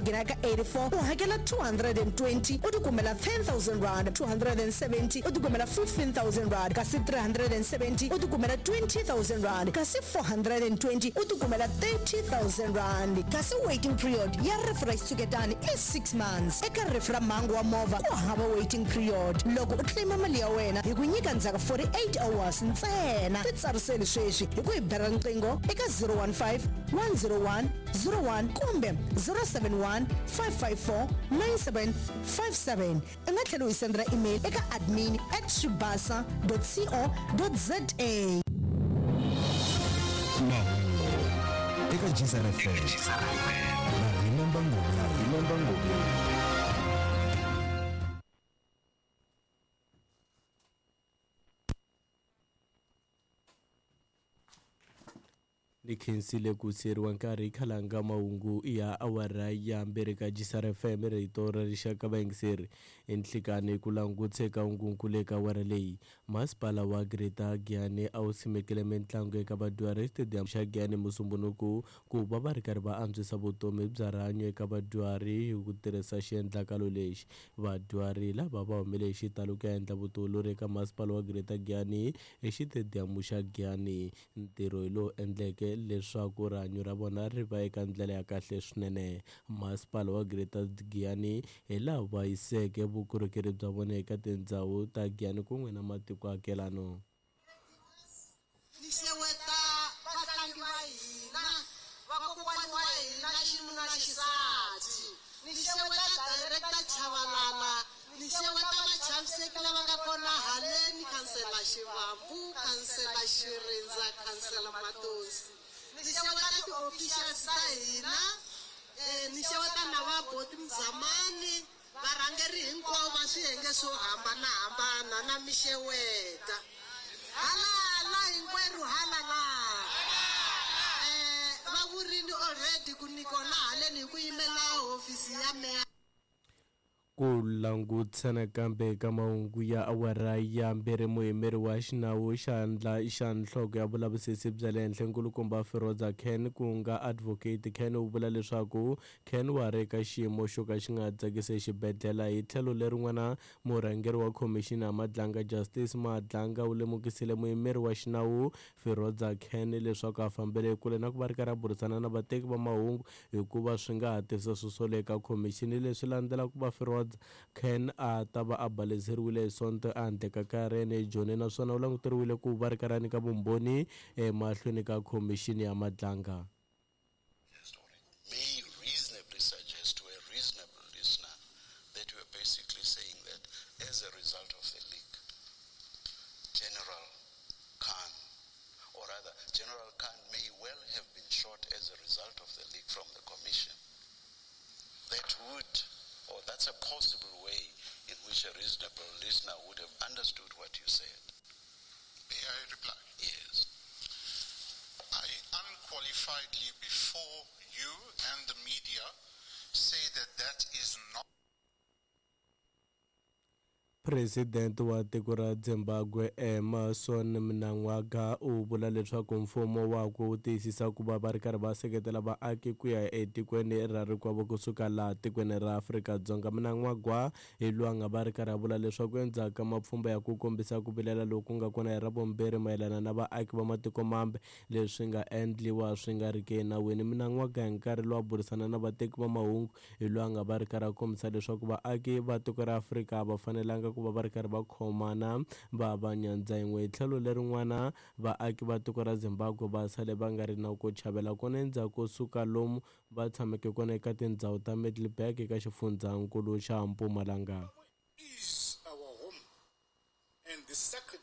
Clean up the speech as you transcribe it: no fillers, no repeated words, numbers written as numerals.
Nghena ka 84 u hakela 220 u tikumela R10,000, 270 u tikumela R15,000 kasi 370 u tikumela R20,000 kasi 420 u tikumela R30,000. Kasi waiting period ya rifu ra xitshuketani i 6 months. Eka rifu ra mhangu wa movha ku hava waiting period. Loko u claim mali ya wena hi ku nyika ndzhaku 48 hours ntsena. Titsariseli sweswi hi ku hi bela riqingho eka 015 101 01 kumbe 071 554 9757. U nga tlhela u hi sendela email eka admin at swibasa dot co dot za. Mahungu eka Gzar FM na Remember Ngomeni. Ni khensile ku siyeriwa nkarhi khalanga mahungu ya awara ya mbirhi ka Gisar FM rito ra rixaka vayingiseri enhlikani ku langutse ka hungunkulu eka awara leyi masipala wa Greater Giyani a wu simekile mitlangu eka vadyuhari stadium xa Giyani Musumbhunuku ku va va ri karhi va antswisa vutomi bya rihanyo eka vadyuhari hi ku tirhisa xiendlakalo lexi vadyuhari lava va humele hi xitalo ku ya endla vutiolori eka masipala wa Greater Giyani exitediyamu xa Giyani ntirho hi lowu endleke leswaku rihanyo ra vona ri va eka ndlela ya kahle swinene masipala wa Greater Giyani hi laha va yiseke vukorhokeri bya vona eka tindhawu ta Giyani kun'we na matiko akelano. Ni xeweta vatlangi va hina, vakokwani wa hina xinuna xisati. Ni xeweta Director Chavalala, ni xeweta vachaviseki lava nga kona haleni, Khansela Xivambu, Khansela Xirindza, Khansela Matosi. Ni xeweta ti-officials ta hina, ni xeweta na va Boti Mzamani, varhangeri hinkwavo va swiyenge swo hambanahambana na mi xeweta. Halala hinkwerhu halala. Va vurini already ku ni kona haleni hi ku yimela hofisi ya meya. Ku langutisa nakambe ka mahungu ya awara ya mbirhi muyimeri wa xinawu xandla xa nhloko ya vulavisisi bya le henhla nkulukumba Firoza Khan ku nga advocate Khan u vula leswaku Khan wa ri eka xiyimo xo ka xi nga tsakisi exibedhlele hi tlhelo lerin'wana murhangeri wa khomixini ya Madlanga Justice Madlanga u lemukisile muyimeri wa xinawu Firoza Khan leswaku a fambele kule na ku va ri karhi a burisana na vateki va mahungu hikuva swi nga ha tisa swisolo eka khomixini leswi landzelaka ku va Firoza Khan a ta va a baleseriwile hi Sonto ehandle ka kaya ra yena eJoni naswona u languteriwile ku va ri karhi a nyika vumbhoni emahlweni ka khomixini ya Madlanga. May reasonably suggest to a reasonable listener that we are basically saying that as a result of the leak, General Khan, or rather, General Khan may well have been shot as a result of the leak from the commission. That would, or that's a possible way in which a reasonable listener would have understood what you said. May I reply? Yes. I unqualifiedly before you and the media say that that is not. President wa tiko ra Zimbabwe Emmerson Mnangagwa u vula leswaku mfumo wakwe wu tiyisisa ku va va ri karhi va seketela vaaki ku ya etikweni ra rikwavo kusuka laha tikweni ra Afrika-Dzonga. Mnangagwa hi loyi a nga va ri karhi a vula leswaku endzhaku ka mapfhumba ya ku kombisa ku vilela loku nga kona hi Ravumbirhi mayelana na vaaki va matiko mambe leswi nga endliwa swi nga ri ki enawini. Mnangagwa hi nkarhi lowu a burisana na vateki va mahungu hi loyi a nga va ri karhi a kombisa leswaku vaaki va tiko ra Afrika a va fanelanga ku va va ri karhi va khomana va va nyandza yin'we. Hi tlhelo lerin'wana vaaki va tiko ra Zimbabwe va sale va nga ri na ku chavela kona endzhaku ko suka lomu va tshameke kona eka tindhawu ta Middelburg eka xifundzankulu xa Mpumalanga.